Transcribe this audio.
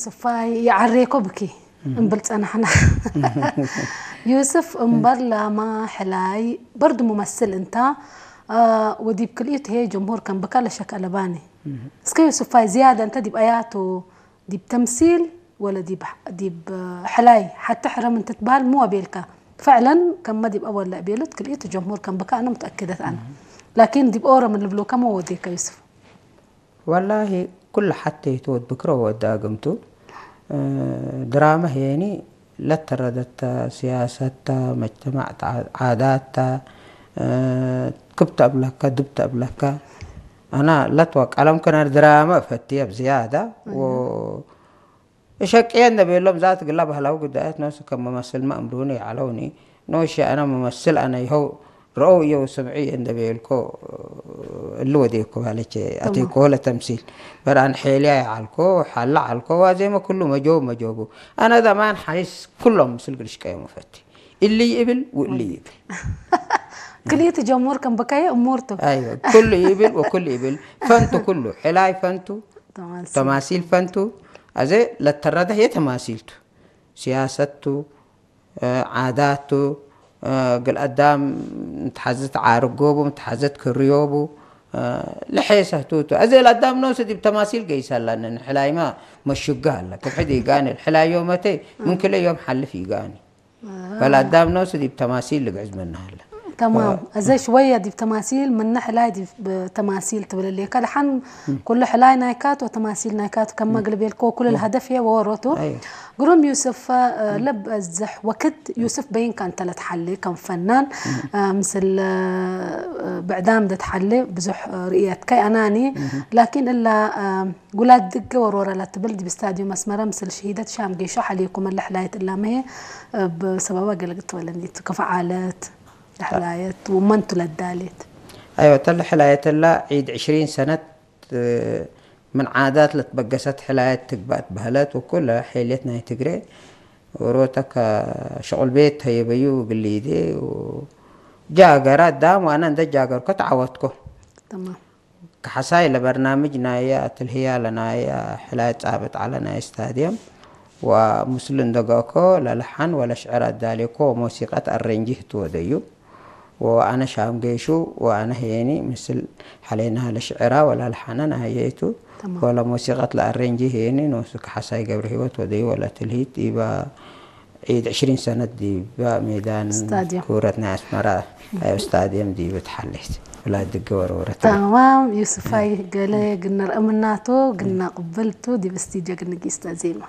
ስፋይ ይዓሬኮ ብኪ እምብል ጸናሕና። ዩስፍ እምበር ላማ ሕላይ በርዱ ሙመስል እንታ፣ አ፣ ወዲብ ክልኢቱ ሄ ጀምሁር ከም ብካ ለሸክ ኣለባኒ። እስከ ዩስፋይ ዝያዳ እንተ ዲብ ኣያቱ ዲብ ተምሲል ወለ ዲብ፣ ዲብ ሕላይ ሓቲ ሕረም እንትትበሃል ምወ ቤልካ። ፈዕለን ከመ ዲብ ኣወለ ቤሉት ክልኢቱ ጀምሁር ከም ብካ ኣነ ሙተኣክደት ኣነ። ላኪን ዲብ ኦሮም ልብሎ ከመ ወዴካ ዩስፍ። ወላሂ ኩሉ ሓተይቱ ወድ ብክሮ ወድ ኣግምቱ ድራማ ሄኒ ለተረደታ ሲያሰታ መጅተማዕ ዓዳታ ክብተ እብለካ ድብተ እብለካ ኣና ለትዋ ቀለም ከና ድራማ እፈትየ ብዝያዳ እሸቅየ እንደቤሎም ዛት ግላ ባህላዊ ጉዳያት ነሱ ከም መመስል ማእምሩኒ ይዓለውኒ ኖሽ ኣና መመስል ኣነ ይኸው ረኦ እየው ስምዒ እንደቤልኮ እሉ ወዴኮ ባለች ኣቴኮ ለተምሲል በራን ሐሊያ ይዓልኮ ሓላ ዓልኮ ዋዜመ ኩሉ መጆብ መጆቡ ኣነ ዘማን ሓይስ ኩሎም ምስል ግልሽቀዮም ፈቲ እሊ ይብል ውእሊ ይብል ክልኢት ጀሙር ከም በካየ እሙርቱ ኣይወ ኩሉ ይብል ወኩሉ ይብል ፈንቱ ኩሉ ሕላይ ፈንቱ ተማሲል ፈንቱ ኣዘ ለተረደህ የተማሲልቱ ሲያሰቱ ዓዳቱ ግል ኣዳም ምትሓዘት ዓርጎቡ ምትሓዘት ክርዮቡ ልሐ ሰህቱቱ ኣዘ ለኣዳም ነውስ ዲብ ተማሲል ገይሰላነ ንሕላይማ መሹጋ ኣለ ክብሕድ ይጋኒ ሕላዮ መተ ምን ክለ ዮም ሓልፍ ይጋኒ በል ኣዳም ነውስ ዲብ ተማሲል ልግዕዝ መናሃለ تمام እዘ ሽወየ ዲብ ተማሲል ምነ ሕላይ ዲብ ተማሲል ትብል ሌካ ደሓን ኩሉ ሕላይ ናይካት ወተማሲል ናይካት ከመ ግልቤልኮ ኩሉ الهدف هي ወሮቱ ግሩም ዩስፍ ለብ እዝሕ ወክድ ዩስፍ በይንካ እንተ ለትሓሊ ከም ፈናን ምስል ብዕዳም ደትሓሊ ብዙሕ ርእየትካይ ኣናኒ ላኪን እላ ጉላት ድገ ወርወረ ለትብል ዲብ ስታድዮም ኣስመራ ምስል ሽሂደት ሻም ጌሾ ሓሊኩም ለሕላየት እላመሄ ብሰበባ ገለግት ወለኒት ክፍዓለት ለሕላየት ወመንቱ ለዳሌት ኣይወ ተለ ሕላየተላ ዒድ ዕሽሪን ሰነት ምን ዓዳት ለትበገሰት ሕላየት ትግባእ ትበህለት ወኩለ ሐልየት ናይ ትግሬ ወሮተከ ሸቁል ቤት ተየበዩ ግልይዴ ጃገራ ዳም ዋና እንደ ጃገርኮ ተዓወትኮ تمام ከሓሳይ ለበርናምጅ ናየ ኣትልህያ ለናየ ሕላየት ጻብጥ ዓለ ናይ ስታድየም ወምስሉ እንደገእኮ ለልሓን ወለሽዕር ኣዳሌኮ ወሞሲቀት ኣሬንጂ ህትወደዩ ወኣነ ሻም ጌሹ ወኣነ ሄኒ ምስል ሓሌና ለሽዕራ ወላ ለሓነን ኣየይቱ ወላ ሞሲቀት ለኣሬንጂ ሄኒ ኖሱ ከሓሳይ ገብረ ህይወት ወደዩ ወላ ትልሂት ዲባ ዒድ ዕሽሪን ሰነት ዲባ ሜዳን ስታድየም። ክብረት ናይ ኣስመራ ኣብ ስታድየም ዲብ ትሓሌት ወላ ድገ ወረወረት تمام ዩስፋይ ገለ ግነር እምናቶ ግና ቅብልቱ ዲብ ስቱድዮ ግንጊስተ ዜማ